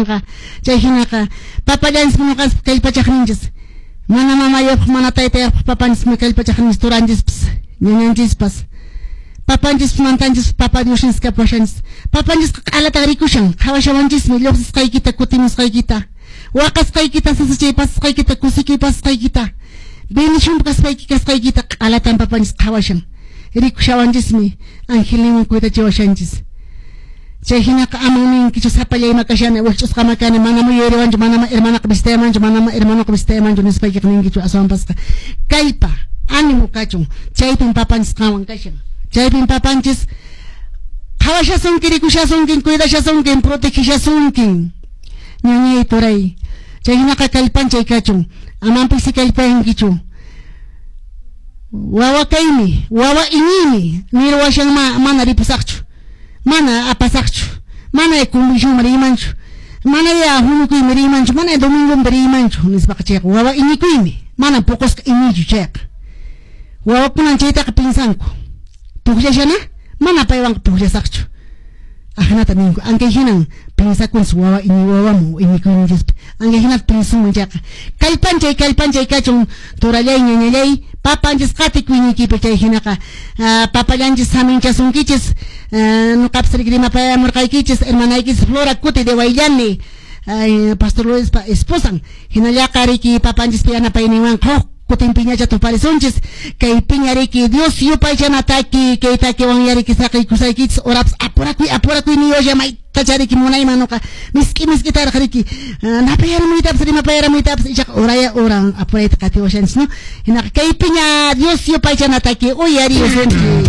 kanqa. Chay hinaqa papallanchismi ñuqanchis kallpachaqninchis. Mana mamayuqpaq, mana taytayuqpaq papanchismi kallpachaqninchis, turanchispas, ñañanchispas. Papanchispas, mantanchispas, papa Diosninchis kapuwashanchis. Papanchisqa q'alatan rikushan, qhawashawanchismi lluqsisqaykita, kutimusqaykita, waqasqaykita, sasachay pasasqaykita, kusikuy pasasqaykita, bendicionpi kaspayki kasqaykita q'alatan papanchis qhawashan. Rikushawanchismi, angelninwan cuidachiwashanchis. Chay hinaqa aman ninkichu sapallayma kashani, wikch'usqama kani, manam yuyariwanchu, manam hermanaqa visitayamanchu, manam hermanoqa visitayamanchu nispaykiqa ninkichu, aswanpasqa kallpa, ánimo kachun. Chaypin papanchis qanwan kashan. Chaypin papanchis qhawashasunki, rikushasunkin, cuidashasunkin, protegishasunkin. Ñañay, turay. Chay hinaqa kallpanchay kachun. Aman pisi kallpayankichu. Wawa kaymi, wawa iñiymi, nirwashan mana ripusaqchu, mana apasaqchu, mana convencionman riymanchu, mana ya huñukuyman riymanchu, mana domingoman riymanchu nispaqa chayqa wawa iñikuymi, mana puqusqa iñiychu chayqa. Wawakunan chaytaqa pinsanku. Pukllashana, mana paywanqa pukllasaqchu. Ajinata ninku, ankay hinan pinsakunchis wawa iñi wawaman iñikuyninchispi. Ankay hinata pinsunman chayqa. Kallpanchay, kallpanchay kachun, turallay, ñañallay, papanchis qatikuyninkipi chay hinaqa papallanchis saminchasunkichis, nuqapas riki rimapayamurqaykichis, hermanaykichis Flora Cuti de Huayllani, Pastor Luispa esposan. Hinallaqa riki papanchispa yanapayninwanqa huk kutin piñacha tuparisunchis. Kay piña riki Dios yupaychana taki, kay takiwan yariki saqiykusaykichis, orapas apurakuy, apurakuy niwasha maytacha riki munayman nuqa misk'i misk'itaraq riki napayaramuytapas rimapayaramuytapas ichaqa oraya oran apurayta qatiwashanchis, no? Hinaqa kay piña Dios yupaychana taki uyarisunchis.